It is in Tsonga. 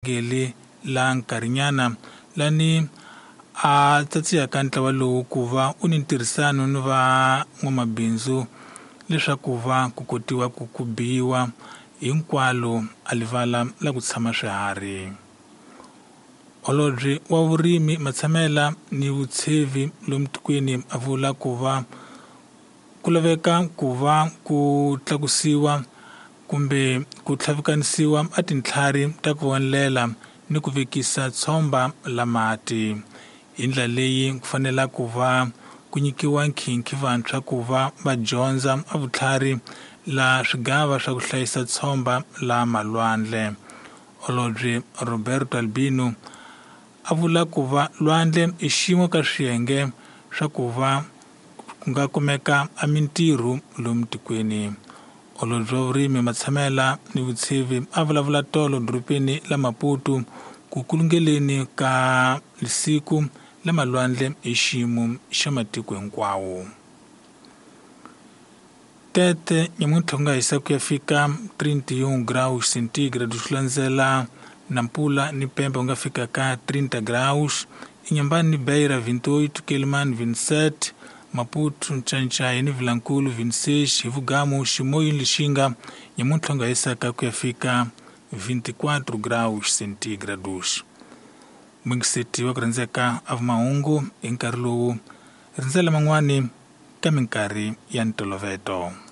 Geli la nkarhinyana lani a tsatsiyaka ntlawa lowu ku va u ni ntirhisano ni van'wamabindzu leswaku va ku kotiwa ku ku biwa hinkwalo a livala la ku tshama swiharhi. Holobye wa vurimi matshamela ni vutshevi lomu tikweni a vula ku va ku laveka ku va ku tlakusiwa kumbe ku tlhavikanisiwa a tintlhari ta ku vonela ni ku vekisa tshomba la mati. Hi ndlela leyi ku fanela ku va ku nyikiwa nkhinkhi vantshwa ku va va dyondza a vutlhari la swigava swa ku hlayisa tshomba la malwandle. Holobye Roberto Albino a vula ku va lwandle i xin'we ka swiyenge swa ku va ku nga kumeka a mintirho lomu tikweni. Holobye wa vurimi matshamela ni vutshevi a vulavula tolo dorobeni la Maputo ku kulungeleni ka siku la malwandle hi xiyimo xa matiko hinkwawo. Tete nyamuntlha ku nga hisa ku ya fika 31 graus centigrade swi landzela Nampula ni Pemba ku nga fika ka 30 graus, Inhambane ni Beira 28, Quelimane 27, Maputo, Ncancai ni Vilankulu 26, hi Vugamu, Chimoio ni Lixinga nyamuntlha ku nga hisaka ku ya fika 24 graus centigrados. Muyingiseti wa ku rhandzeka a vumahungu hi nkarhi lowu rindzela man'wani ka minkarhi ya ntoloveto.